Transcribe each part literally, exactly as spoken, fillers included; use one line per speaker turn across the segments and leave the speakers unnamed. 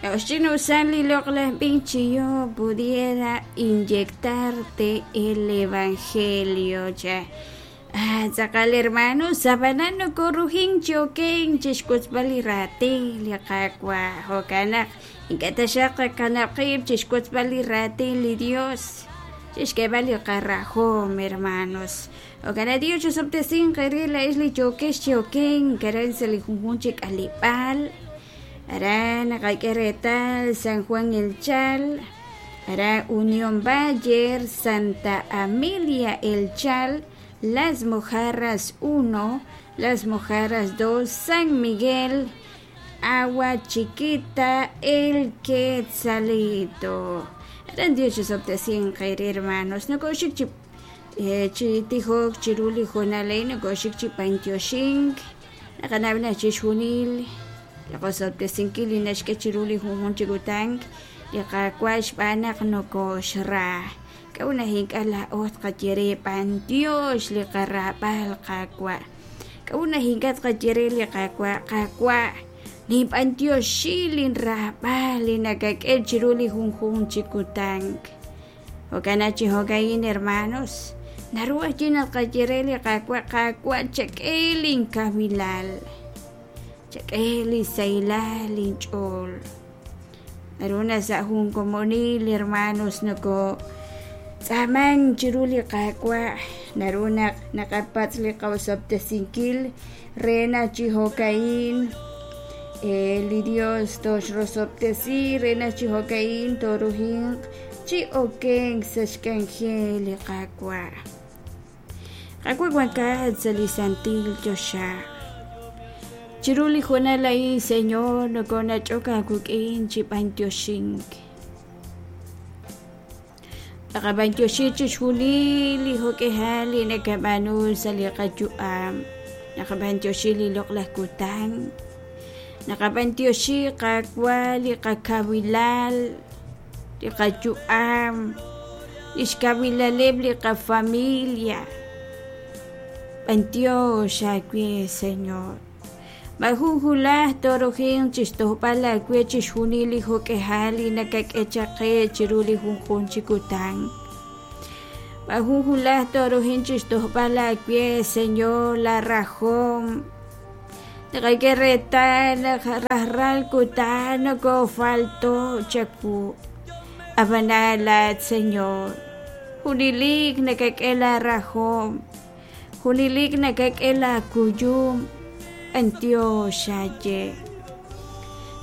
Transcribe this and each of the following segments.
K'a'uxch'inusal li loq'laj b'ich chi yo pudiera inyectarte el evangelio cha ah tz'aqal hermanos ab'anan nokorujin chi oken chixwotzb'al li raatin li Qaawa' jo'kan naq ink'a' taxaq qakanab' qiib' chixwotzb'al li raatin li Dios chixk'eeb'al li qarajom hermanos jo'kan naq Dios chusob'tesinq eere laa'ex li yookex chi oken aran sa' li junjunq chi k'aleb'aal aran naqak'e reetal San Juan El Chal aran Unión Bayer Santa Amelia El Chal Las Mojarras uno Las Mojarras dos San Miguel Agua Chiquita El Quetzalito aran Dios chusob'tesinq eere hermanos nokoxik chi chi tijok chiru li hoonal a'in nokoxik chi b'antioxink naqanaw naq chixjunil li qosob'tesinkil li naxk'e chiru li junjunq chi kutan li Qaawa' xb'aan naq nokoxra k'a'ut naq ink'a' laa'o tqaye re b'antiox li qarab'al Qaawa' k'a'ut naq ink'a' tqaye re li Qaawa' Qaawa' ninb'antioxi linraab'al li nakak'e chiru li junjunq chi kutan jo'kan naq chi jo'ka'in hermanos naru ajwi' naq tqaye re li Qaawa' Qaawa' chak'e linkawilal chak'e li sahilal linch'ool naru na sa' jun komonil hermanos noko tz'aaman chiru li Qaawa' naru naq naqapatz' li qaosob'tesinkil re naq chi jo'ka'in li Dios toxrosob'tesi re naq chi jo'ka'in torujinq chi okenk sa' xk'anjel li Qaawa' Qaawa' wankat sa' li santil choxa chiru li hoonal a'in Señor nokonach'ok aawik'in chi b'antioxink naqab'antioxi chixjunil li jo'k'ejal li nakab'aanu sa' li qayu'am naqab'antioxi li loq'laj kutan naqab'antioxi Qaawa' li qakawilal li qayu'am li xkawilaleb' li qafamilia b'antiox aawe Señor majun hulaj torujin chixtojb'al aawe chixjunil li jo'k'ejal li nakak'e chaq qe chiru li junjunq chi kutan majun hulaj torujin chixtojb'al aawe Señor la rajom naqak'e reetal naq rajlal kutan nokofalto chawu ab'anan laat Señor junilik nakak'e la rajom junilik nakak'e la kuyum b'antiox aaye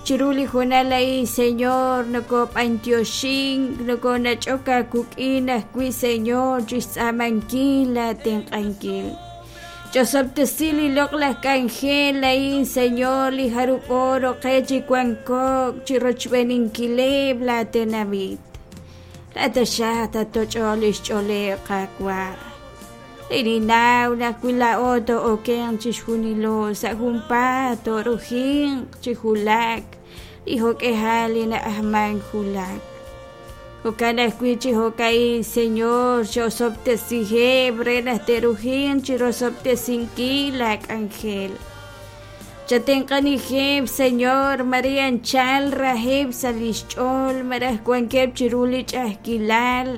chiru li hoonal a'in Señor nokob'antioxink nokonach'ok aawik'in ajwi' Señor chixtz'aamankil laatenq'ankil ch'osob'tesi li loq'laj k'anjel a'in Señor li jarub'o roqe chi wankok chi rochb'eninkileb' laatenamit laataxaq tatoch'ol li xch'ooleb' Qaawa' Ninnaw naq wi laa'o to'okenq chixjunilo sa' junpaat torujinq chi julak li jo'k'ejal li na'ajman julak jo'kan ajwi' chi jo'ka'in Señor xosob'tesiheb' re naq te'rujinq chi rosob'tesinkil laak'anjel chatenq'anijeb' Señor María anchal rajeb' sa' li xch'ool malaj wankeb' chiru li ch'a'ajkilal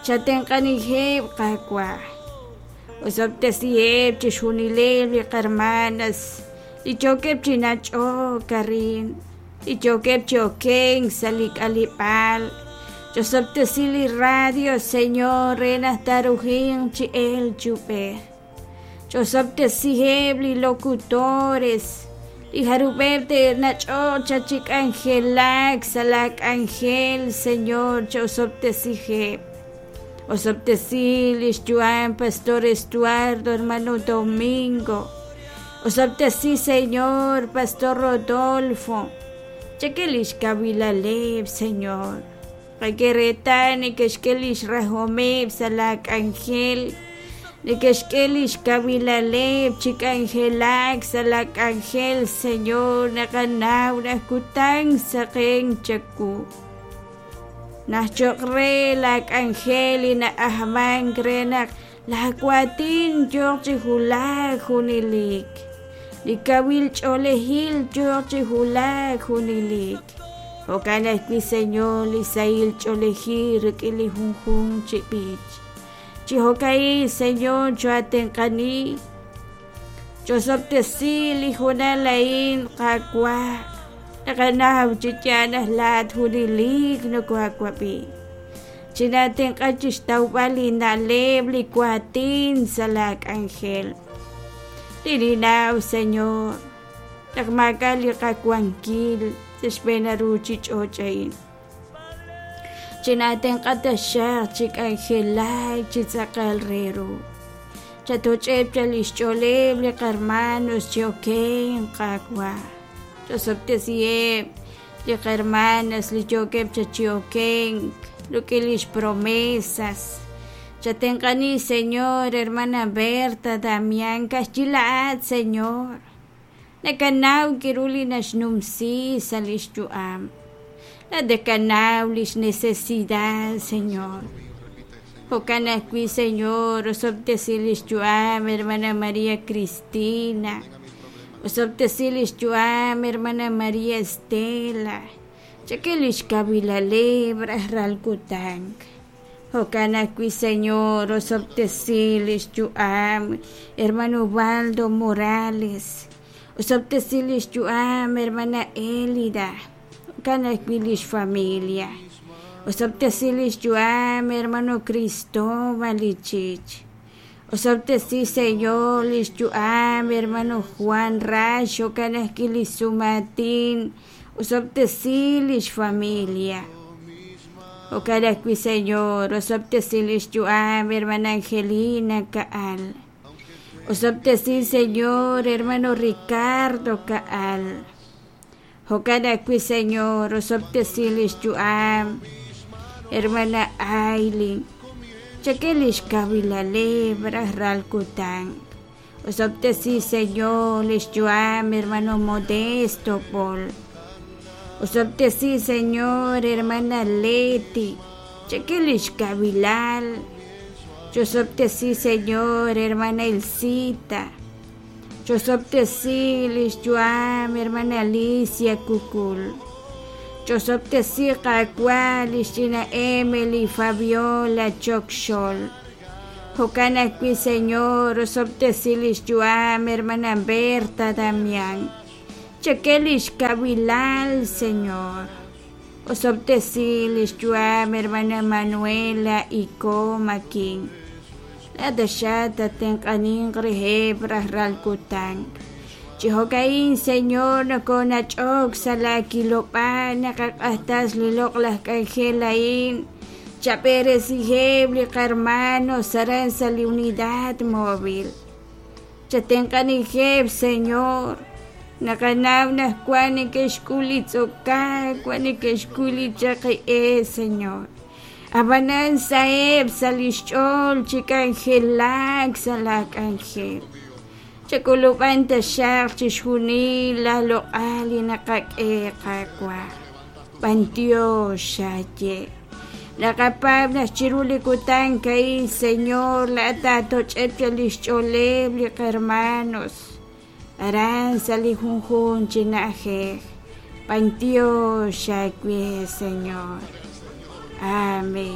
chatenq'anijeb' Qaawa' osob'tesiheb' chixjunileb' li qarmanas li yookeb' chi nach'ok arin li yookeb' chi okenk sa' li k'aleb'aal ch'osob'tesi li radio Señor re naq tarujinq chi el chub'ej ch'osob'tesiheb' li locutores li jarub'eb' te'nach'ok cha chi k'anjelak sa' la k'anjel Señor ch'osob'tesiheb' osob'tesi li xyu'am Pastor Estuardo hermano Domingo osob'tesi Señor Pastor Rodolfo chak'e li xkawilaleb' Señor qak'e reetal neke'xk'e li xrajomeb' sa' la k'anjel neke'xk'e li xkawilaleb' chi k'anjelak sa' la k'anjel Señor naqanaw naq kutan saqen chawu naq cho'q re la k'anjel li na'ajman re naq laawatin yooq chi julak junilik li kawil ch'oolejil yooq chi julak junilik Jo'kan ajwi', Señor, li sahil ch'oolejil rik'in li junjunq chi b'ich. Chi jo'ka'in, Señor, choatenq'ani, chosob'tesi li hoonal a'in, Qaawa', naqanaw chi yaal naq laa'at junelik nokohaawab'i. Chinatenq'a chixtawb'al li na'leb' li waatin sa' laa k'anjel. Ninnaw, Señor, naq maak'a' li qawankil sa' xb'een ruuchich'och' a'in. Chinatenq'a taxaq chi k'anjelak chi tz'aqal re ru. Chatoch'eb' chaq lix ch'ooleb' li qarmanos chi okenk, Qaawa'. Chosob'tesiheb' li qarmanas li yookeb' chaq chi okenk rik'in lix promesas. Chatenq'ani, Señor, hermana Berta Damián, ka'ajwi' laa'at, Señor. Nakanaw k'aru li naxnumsi sa' lix yu'am. Laa'at nakanaw lix necesidad, Señor. Jo'kan ajwi', Señor, osob'tesi lix yu'am, hermana María Cristina. Osob'tesi lix yu'am, hermana María Estela. Chak'e lix kawilaleb' rajlal kutan. Jo'kan ajwi', Señor, osob'tesi lix yu'am, hermano Ubaldo Morales. Osob'tesi lix yu'am, hermana Elida. Jo'kan ajwi' lix familia. Osob'tesi lix yu'am, hermano Cristóbal Ichich. Osob'tesi, Señor, lix yu'am, hermano Juan Rax. Jo'kan ajwi' lix sumaatin. Osob'tesi lix familia. Jo'kan ajwi', Señor, osob'tesi lix yu'am, hermana Angelina Kaal. Osob'tesi, Señor, hermano Ricardo Kaal. Jo'kan ajwi', Señor, osob'tesi lix yu'am, hermana Aileen. Chak'e lix kawilaleb' rajlal kutan. Osob'tesi, Señor, lix yu'am, hermano Modesto Paul. Osob'tesi, Señor, hermana Leti. Chak'e lix kawilal. Chosob'tesi, Señor, hermana Elcita. Chosob'tesi lix yu'am, hermana Alicia Kukul. Chosob'tesi Qaawa' lix ch'ina Emily Fabiola Chokxol. Jo'kan ajwi', Señor, osob'tesi lix yu'am, hermana Berta Damián. Chak'e lix kawilal, Señor. Osob'tesi lix yu'am, hermana Manuela Iko Makin. Laa'at taxaq tatenq'aninq reheb' rajlal kutan. Chi jo'ka'in, Señor, nokonach'ok sa' laa kilob'aal naqaq'ajtas li loq'laj k'anjel a'in. Chab'eresiheb' li qarmanos aran sa' li unidad móvil. Chatenq'anijeb', Señor. Naqanaw naq wan neke'xk'ul li tz'okaak, wan neke'xk'ul li chaqi'e, Señor. Ab'anan saheb' sa' lix ch'ool chi k'anjelak sa' laa k'anjel. Chak'ulub'an taxaq chixjunil la loq'al li naqak'e Qaawa'. B'antiox xaye. Naqapaab' naq chiru li kutan a'in, Señor, laa'at taatoch'eb' chaq lix ch'ooleb' li qarmanos. Aran sa' li junjunq chi na'ajej. B'antiox xawe, Señor. Amén.